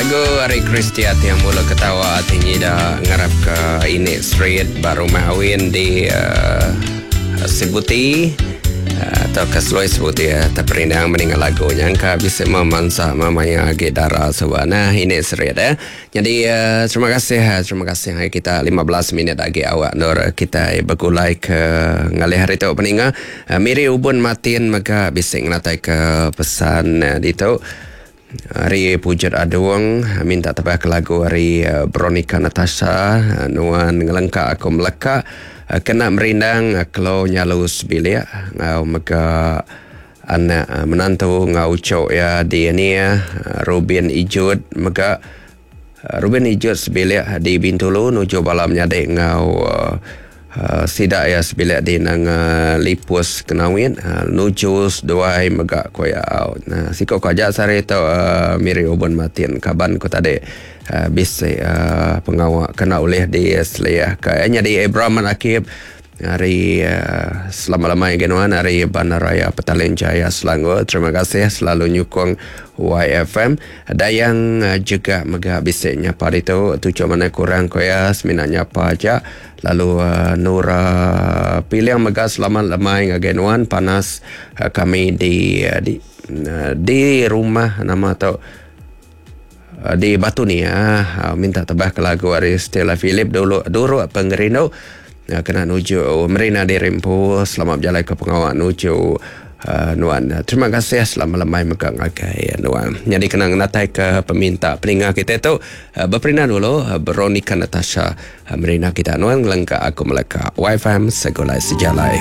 Lagu ari Christia Tiang Bulu Ketawa ti nyida ngarapka ini street ba Rumah Awin di uh, Sibuti uh, atau ke Seloi Sibuti uh, terperindang mendengar lagu nyangka bisa memansa memaya agi dara suba. Nah, ini street eh. Nyadi terima kasih terima kasih ngagai kita 15 minit agi awak endur kitai begulai ke ngalih hari tu peninga. Miri Ubun Martin mega bisi ngenatai ke pesan ditu. Ari Pujut Adung minta tebah ke lagu ari Veronica Natasha nuan ngelengka aku meleka kena merindang kelo nyalu sebilik enggau mega Anak menantu enggau uchu iya di nia Rubin Ijut mega Rubin Ijut sebilik di Bintulu nuju bala menyadi enggau sida iya sebilik di Nanga Lipus Kenawit nuju seduai mega ku iya. Siku ku aja sehari tu Miri Ubun Martin kaban ku tadi bisi pengawa kena ulih diseliahka. Nyadi Abraham Akib Hari selamat lemai agi nuan ari Bandaraya Petaling Jaya Selangor. Terima kasih selalu nyukung YFM. Dayang juga mega bisi nyapa ditu. Tuchuk mana kurang ko iya semina nyapa aja. Lalu Nura Piling mega selamat lemai ngagai nuan panas kami di di di rumah nama tu di Batu Nia minta tebah ke lagu ari Stella Philip dulu duruk pengerindu kena nuju Merina diri empu selamat bejalai ke pengawa nuju nuan. Terima kasih selamat lemai mega ngagai nuan. Nyadi kena ngenatai ke peminta peninga kita tu beperindang dulu Veronica Natasha Merina kita nuan ngelengka aku meleka YFM Segulai Sejalai.